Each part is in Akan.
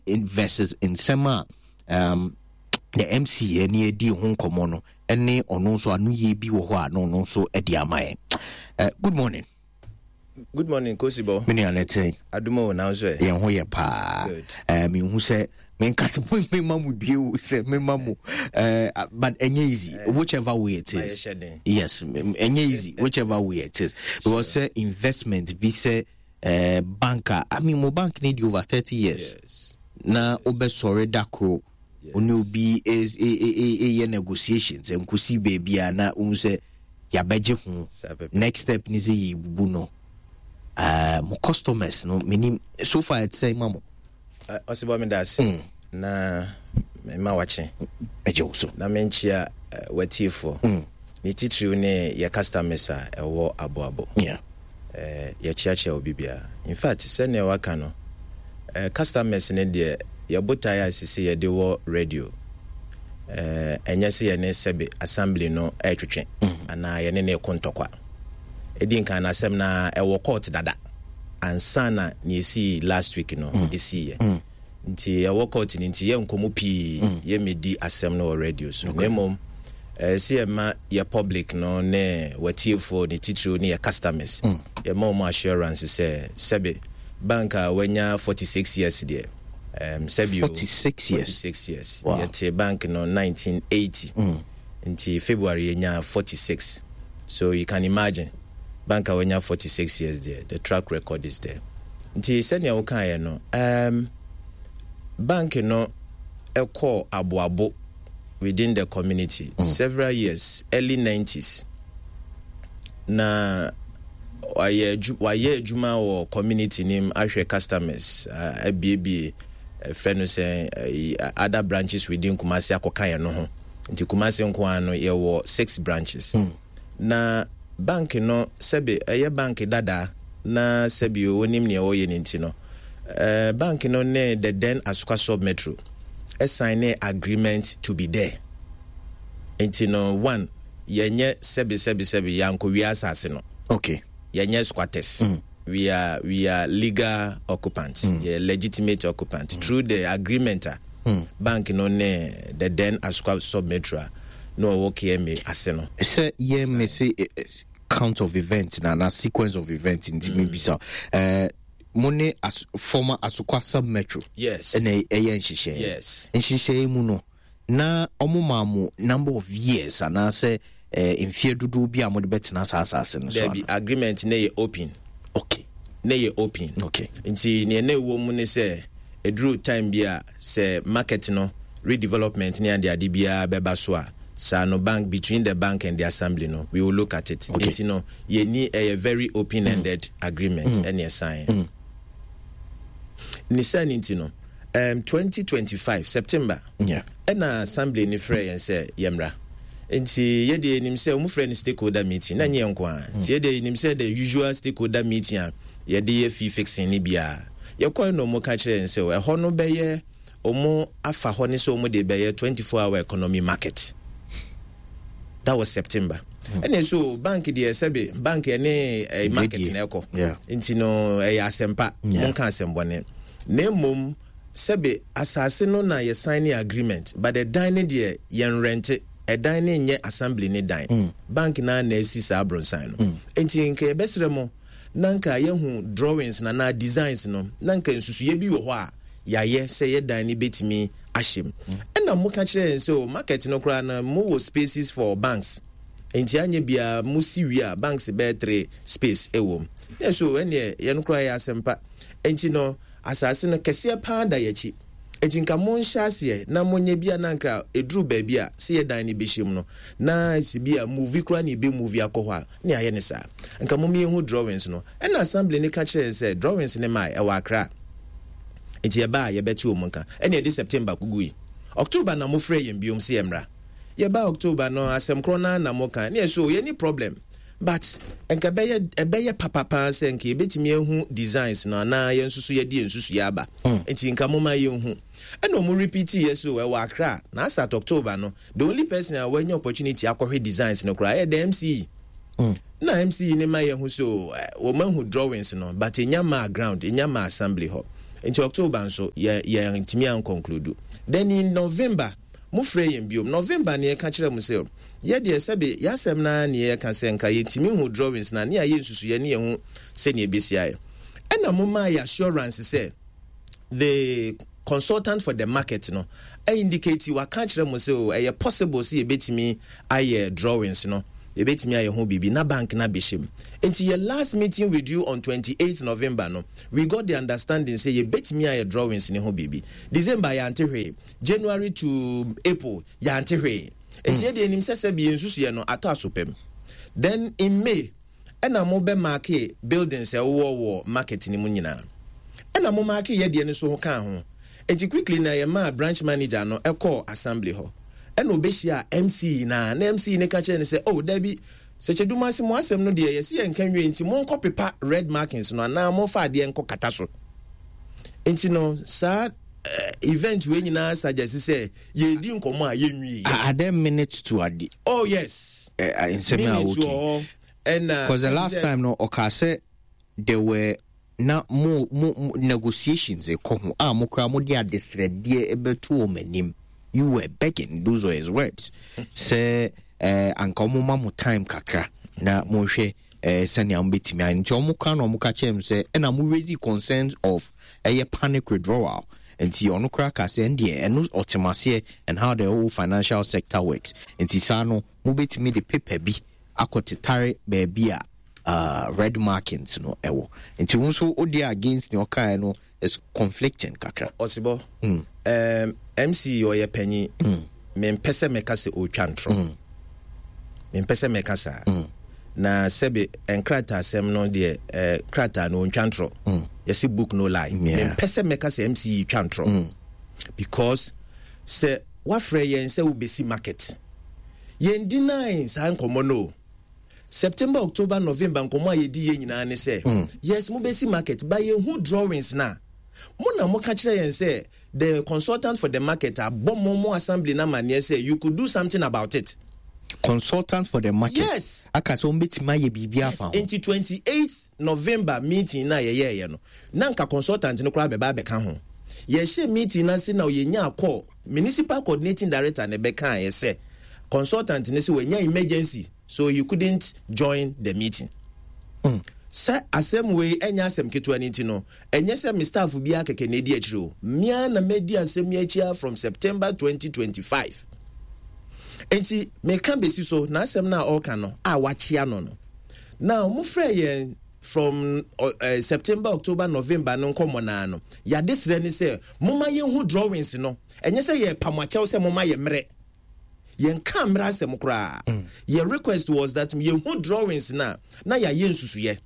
versus nsɛm a um, the MC ɛne adi ho nkɔmmɔ no ɛne ɔno nso ano yie bi wɔ hɔ a na ɔno nso ɛde ama yɛn. Good morning. Good morning, Kosibo. Me nua ne te. Adumo na nso ɛ. Yɛn ho yɛ paa. Good. Mehu sɛ menka sɛ mema mo due o sɛ mema mo but ɛnyɛ easy whichever way it is. Yes, ɛnyɛ easy whichever way it is because sɛ investment bi sɛ bank a, I mean mo bank ne di over 30 years. Yes. Na wobɛsɔre da koro. Ɔne obi ɛyɛ negotiations nkosi baabi a na wohu sɛ yɛabɛgye ho. Next step ne sɛ yɛbubu no. Mo customers no menim so far ɛte sɛ ma mo. Ɔsebɔ me da ase na mema wakye. Ɛgye wo so. Na menkyia watiefoɔ. Ne titiriw ne yɛ customers a ɛwɔ aboabo. Yɛkyeakyea obi biara. In fact, sɛnea waka no, customers no deɛ yɛbotae a sisi yɛde wɔ radio. Ɛnyɛ sɛ yɛne sɛbe assembly no ɛretwetwe anaa yɛne ne ɛko ntɔkwa. Ɛdi nkan no asɛm na ɛwɔ court dada ansa na nea ɛsii last week no ɛsiiɛ. Nti ɛwɔ court no nti yɛnkɔ mu pii, yɛmmɛdi asɛm no wɔ radio so. Na mmom ɛsɛ yɛma yɛ public no ne watiefoɔ ne titiriw ne yɛ customers yɛma wɔn assurance sɛ sɛbe bank a wanya 46 years deɛ sɛbe 46 years. 46 years. Wow. Yɛte bank no 1980. Nti February yɛnya 46. So you can imagine bank a wanya 46 years deɛ, the track record is there. Nti sɛnea wokaeɛ no, bank no ɛkɔɔ aboabo within the community several years, early 90s. Na wayɛ adwuma wɔ community nim ahwɛ customers, abiebie fɛ no sɛ other branches within Kumasi akɔka yɛn no ho. Nti Kumasi nko ara no yɛwɔ 6 branches. Na bank no sɛbe ɛyɛ bank dada na sɛbe wonim nea wɔyɛ no nti no, bank no ne the then Asokwa Sub Metro sign ne agreement to be there. Nti no one, yɛnyɛ sɛbe sɛbe sɛbe yɛankɔwia asase no. Yɛnyɛ squatters. We are legal occupants. Yɛ legitimate occupants. Through the agreement a bank no ne the then Asokwa Sub Metro a na ɔwɔ KMA ase no. Sɛ yɛ me se count of events na sequence of events nti me bisa. Mo ne former Asokwa Sub Metro. Yes. Ɛna ɛyɛ nhyehyɛe. Yes. Nhyehyɛe mu no na ɔmo maa mo number of years anaasɛ mfeɛ dodoɔ bi a mo de bɛtena saa asase no so. Dabi, agreement ne yɛ open. Okay. Ne yɛ open. Okay. Nti nea na ɛwɔ mu ne sɛ ɛduru time bi a sɛ market no redevelopment ne ade ade biara bɛba so a saa no bank between the bank and the assembly no we will look at it. Okay. Nti no yɛni ɛyɛ very open ended agreement ɛne ɛsan. Ne saa ne nti no 2025 September ɛna assembly ne frɛ yɛn sɛ yɛmmra. Nti yɛde yɛnim sɛ wɔn frɛ no stakeholder meeting na nyɛ nko a. Nti yɛde yɛnim sɛ the usual stakeholder meeting a yɛde yɛ fee fixing ne biara. Yɛkɔɛ na wɔn ka kyerɛ yɛn sɛ ɛhɔ no bɛyɛ wɔn afa hɔ ne sɛ wɔn de bɛyɛ 24 hour economy market. That was September. Ɛna so bank deɛ sɛbe bank ɛne market na ɛkɔ. Nti no ɛyɛ asɛmpa. Monka asɛmbɔne. Na mmom sɛbe asase no na yɛ sign agreement but ɛdan ne deɛ yɛn rente. Ɛdan ne nyɛ assembly ne dan. Bank na na asi saa abronsan no. Nti nka yɛbɛsrɛ mo na nka yɛhu drawings na na designs no na nka nsusuyɛ bi wɔ hɔ a yɛayɛ sɛ yɛ dan ne bɛtumi ahyɛ mu. Ɛna mo ka kyerɛ yɛn sɛ o market no koraa na mo wɔ spaces for banks. Nti anyɛ biara mo si wie a banks bɛyɛ 3 space ɛwɔ mu. Na so ɛneɛ yɛn koraa yɛ asɛmpa. Nti no asase no kɛseɛ paa da yɛakyi. Nti nka mo nhyɛ aseɛ na mo nyɛ bia na nka ɛduru baabi a sɛ yɛ dan no bɛhyɛ mu no na si bi a movie koraa na ɛbɛ movie akɔ hɔ a ne ayɛ ne saa. Nka mo mmiɛnhu drawings no. Ɛna assembly no ka kyerɛ yɛn sɛ drawings no mae ɛwɔ Accra. Nti yɛba a yɛbɛte wɔn nka. Ɛna yɛde September kugui. October na mo frɛ yɛn biom sɛ yɛmmra. Yɛba October no asɛm korɔ no ara na mo ka. Ne yɛ so yɛni problem. But nka ɛbɛyɛ papa paa sɛ nka yɛbɛtumi ahu designs no anaa yɛn nso so yɛde yɛn nsusuiɛ aba. Nti nka mo ma yɛnhu. Ɛna ɔmo repeat yɛ so ɛwɔ Accra. Na as at October no, the only person a wanya opportunity akɔhwɛ designs no koraa ɛyɛ the MCE. Na MCE ne ma yɛhu so wɔn ahu drawings no but enya maa ground, enya maa assembly hɔ. Nti October nso yɛ yɛntumi anconclude. Then in November mo frɛ yɛn biom. November ne yɛka kyerɛ mo sɛ yɛ deɛ sɛbe yɛasɛm no ara ne yɛka sɛ nka yɛntumi hu drawings no a ne yɛayɛ nsusuiɛ ne yɛhu sɛnea ɛbɛsi ayɛ. Ɛna mo maa yɛ assurance sɛ the consultant for the market no indicate waka akyerɛ mo sɛ o ɛyɛ possible sɛ yɛbɛtumi ayɛ drawings no, yɛbɛtumi ayɛ ho biribi na bank no abɛhyɛ mu. Nti yɛ last meeting with you on 28th November no, we got the understanding sɛ yɛbɛtumi ayɛ drawings no ho biribi. December yɛante hwee, January to April yɛante hwee. Nti yɛdeɛ yɛnim sɛ sɛbi yɛn nsusuiɛ no atɔ aso pam. Then in May, Ɛna mo bɛ maake buildings a ɛwowɔ wɔ market no mu nyinaa. Ɛna mo maake yɛ deɛ no nso ho kaa ho. Nti quickly na yɛ maa branch manager no ɛkɔɔ assembly hɔ. Ɛna ɔbɛhyiaa MC no a na MC no ka kyerɛɛ no sɛ oh dabi, Sɛkyɛdumase mo asɛm no deɛ yɛse yɛnka nwie nti monkɔ pepa red markings no anaa momfa adeɛ nkɔ kata so. Nti no saa event wei nyinaa suggest sɛ yɛredi nkɔmmɔ a yɛnwie. Are there minutes to ade? Oh yes. Nsɛm a Minutes wɔ hɔ ɛna. Because the last time no ɔkaa sɛ there were na mo mo negotiations kɔ ho a mo koraa mo de adesrɛdeɛ bɛto wɔn anim. You were begging, those were his words. Sɛ anka wɔn ma mo time kakra na mo nhwɛ sɛnea mo bɛtumi ayɛ. Nti wɔn ka na wɔn ka kyerɛ mo sɛ ɛna mo raise concerns of ɛyɛ panic withdrawal. Nti ɔno koraa ka sɛ ɛndeɛ ɛno ɔte mo aseɛ and how the whole financial sector works. Nti saa no mobɛtumi de paper bi akɔ tetare baabi a red markings no ɛwɔ. Nti wo nso wo deɛ against nea ɔkaeɛ no is conflicting kakra. Ɔsebɔ, MC ɔyɛ panyin. Mempɛ sɛ mɛka sɛ ɔretwa ntorɔ. Mempɛ sɛ mɛka saa. Na sɛbe nkrataasɛm no deɛ, krataa no ɔntwa ntorɔ. Yɛse book no lie. Mempɛ sɛ mɛka sɛ MC yi twa ntorɔ. Because sɛ wafrɛ yɛn sɛ wobɛsi market, yɛn deny saa nkɔmmɔ no o. September, October, November nkɔmmɔ a yɛdi yɛ nyinaa ne sɛ, yes, mobɛsi market, but yɛhu drawings no a, mo na moka kyerɛ yɛn sɛ the consultant for the market abɔ mo mo assembly no amanneɛ sɛ you could do something about it. Consultant for the market? Yes. Aka sɛ wɔbɛtumi ayɛ biribi afa ho. Yes, nti 28th November meeting no a yɛyɛeɛ no, na nka consultant no koraa bɛba abɛka ho. Yɛhyɛ meeting no ase na yɛnyaa call, municipal coordinating director na ɛbɛkaeɛ sɛ consultant no sɛ wanya emergency so he couldn't join the meeting. Sɛ asɛm wei ɛnyɛ asɛm ketewa no nti no, ɛnyɛ sɛ me staff biara kɛkɛ na ɛdi akyire o. Me ara na madi asɛm yi akyi ara from September 2025. Nti meka bɛsi so, n'asɛm no a ɔreka no a wakyea no no. Now, mofrɛ yɛn from September, October, November no nkɔmmɔ no ara no, yɛadesrɛ ne sɛ momma yɛnhu drawings no. Ɛnyɛ sɛ yɛrepa mo akyɛw sɛ momma yɛ mmerɛ. Yɛnka mmerɛ asɛm koraa. Yɛ request was that yɛhu drawings no a, na yɛayɛ nsusuyɛ.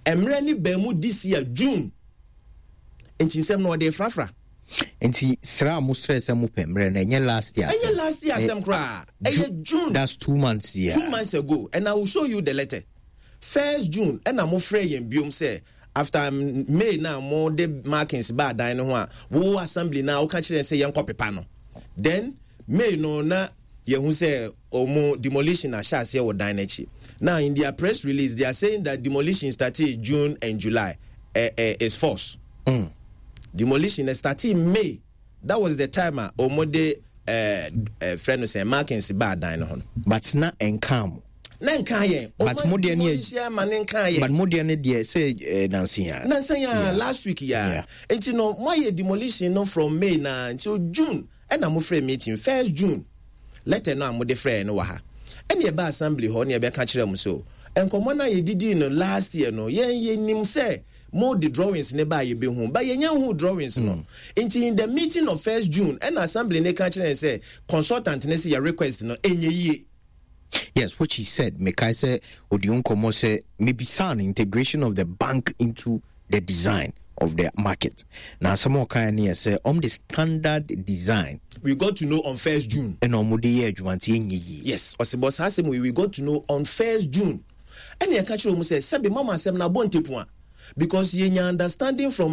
Mmerɛ ne baa mu this year June. Nti nsɛm no ɔde frafra. Nti srɛ a mo srɛ sɛ mo pɛ mmerɛ no ɛnyɛ last year asɛm. Ɛnyɛ last year asɛm koraa. Ɛyɛ June. That's 2 months yeah. 2 months ago and I will show you the letter. First June ɛna mo frɛ yɛn biom sɛ after May na mo de markings ba adan no ho a wo assembly na woka kyerɛ sɛ yɛnkɔ pepa no. Then May no na yɛhu sɛ ɔmo demolition ahyɛ aseɛ wɔ dan n'akyi. Now in their press release they are saying that demolition started June and July. Is false. Demolition started May. That was the time a ɔmo de frɛ no sɛ markings ba dan no ho no. But na ɛnka mo. Na nka yɛn. But mo deɛ ne yɛ ma ne nka yɛn. But mo deɛ ne deɛ sɛ nansi ya. Nansi ya last week ya. Nti no mo ayɛ demolition no from May na nti June ɛna mo frɛ meeting first June. Letter no a mo de frɛ no wɔ ha. Ɛna ɛba assembly hɔ ne ɛbɛka kyerɛ mo so. Nkɔmɔ na yɛdidi no last year no yɛn yɛnim sɛ mo de drawings ne ba yɛbɛhu ba yɛnya hu drawings no. Nti in the meeting of first June ɛna assembly ne ka kyerɛ sɛ consultant ne sɛ yɛ request no ɛnyɛ yie. Yes, which he said. Mekai sɛ odi nkɔmmɔ sɛ mebisa no integration of the bank into the design of the market. Na asɛm a ɔkaeɛ no yɛ sɛ ɔm de standard design. We got to know on first June. Ɛna ɔmo de yɛ adwuma nti ɛnyɛ yie. Yes, ɔsebɔ saa asɛm we got to know on first June. Ɛna yɛka kyerɛ ɔmo sɛ sɛbi mama asɛm na abɔ ntepu a because yɛnya understanding from.